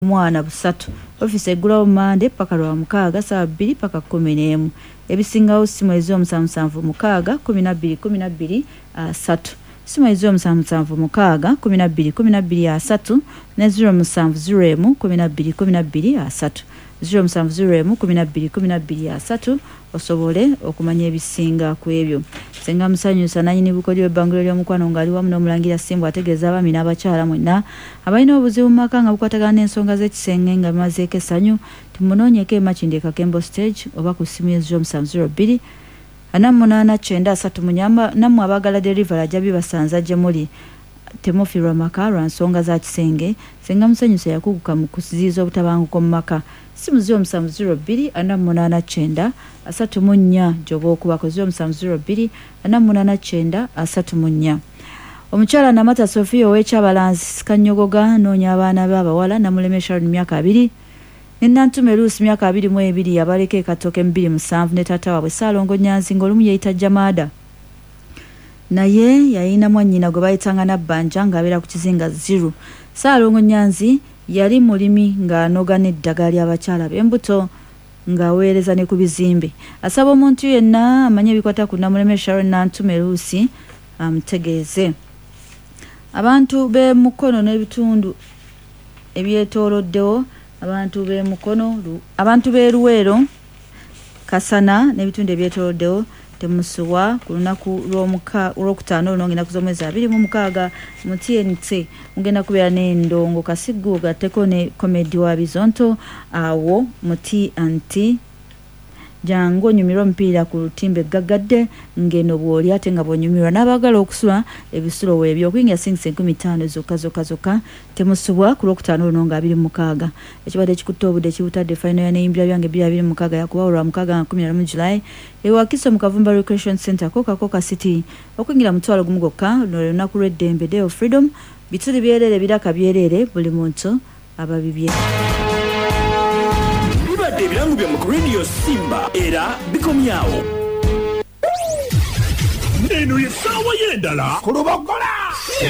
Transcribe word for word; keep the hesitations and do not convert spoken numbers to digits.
Mwana busatu. Ofiisi eggulawo Mande paka lwa mukaaga saawa bbiri paka kkumi n'emu. Ebisingawo simu ez'omusanvu musanvu mukaaga kumi na bbiri kumi na bbiri asatu, simu ez'omusanvu musanvu mukaaga kumi na bbiri kumi na bbiri asatu ne zero musanvu zero emu kumi na bbiri kumi na bbiri asatu, zero musanvu zero emu kumi na bbiri kumi na bbiri asatu, osobole okumanya ebisinga ku ebyo. Senga Musanyusa nanyini bukodyo w'ebbanguliro ly'omukwano ng'ali wamu n'omulangira Simbu ategeeza abaami n'abakyala mwenna abalina obuzibu mu maka nga bukwatagana n'ensonga z'ekisenge nga bimazeeko essanyu, tumunoonyeko e Makindye Kakembo Stage oba ku ssimu ye zero musanvu zero bbiri ana munaana kyenda asatu munyamba. Nammwe abaagala delivery ajja bibasanza gye muli. Temufiirwa maka lwa nsonga za kisenge. Senga Musanyusa yakuguka mu kuziyiza obutabanguko mu maka. Simu zero musanvu zero bbiri ana munaana kyenda asatu mu nnya gy'oba okubako, zero musanvu zero bbiri ana munaana kyenda asatu mu nnya. Omukyala Namata Sofia ow'Ekyabalanzi Kanyogoga noonya abaana be abawala Namuleme Sharon myaka abiri ne Nantume Luusi myaka abiri mu ebiri abaleka e Katooke mu bbiri musanvu ne taata waabwe Ssaalongo Nyanzi ng'olumu yeeyita Jamaada, naye yalina mwannyina gwe bayitanga Nabbanja ng'abeera ku kizinga Ziru. Ssaalongo Nyanzi yali mulimi ng'anoga n'eddagala ly'abakyala b'embuto ng'aweereza ne ku bizimbe. Asaba omuntu yenna amanye ebikwata ku Namuleme Sharon Nantume Luusi amutegeeze. Abantu b'e Mukono n'ebitundu ebyetooloddewo, abantu b'e Mukono, abantu b'e Luweero, Kasana n'ebitundu ebyetooloddewo temusubwa ku lunaku lwokutaano luno ng'ennaku z'omwezi abiri mu mukaaga mu T N T mugenda kubeera n'endongo Kasiggu gatteko ne comedy wa Bizonto awo mu T N T. Jangu onyumirwe omupiira ku lutimbe gaggadde ng'eno bw'oli ate nga bw'onyumirwa n'abaagala okusula ebisulo weebyo okuyingira singisa enkumi ttaano zokka zokka zokka. Temusubwa ku lwokutaano luno nga abiri mu mukaaga. Ekibadde kikutte obudde kibutadde. Final ya Neyimbira Byange bbiri abiri mu mukaaga yakubawo lwa mukaaga nga kumi na lumu July e Wakiso mu Kavumba Recreation Center, Coca Coca City. Okuyingira mutwalo gumu gwokka. Luno lwe lunaku lw'eddembe, Day of Freedom. Bituli byereere, biraka byereere, buli muntu ababibye. Bibadde ebirango byammwe ku Radio Simba era bikomyawo. Eno ye ssaawa y'endala ku Lubogola.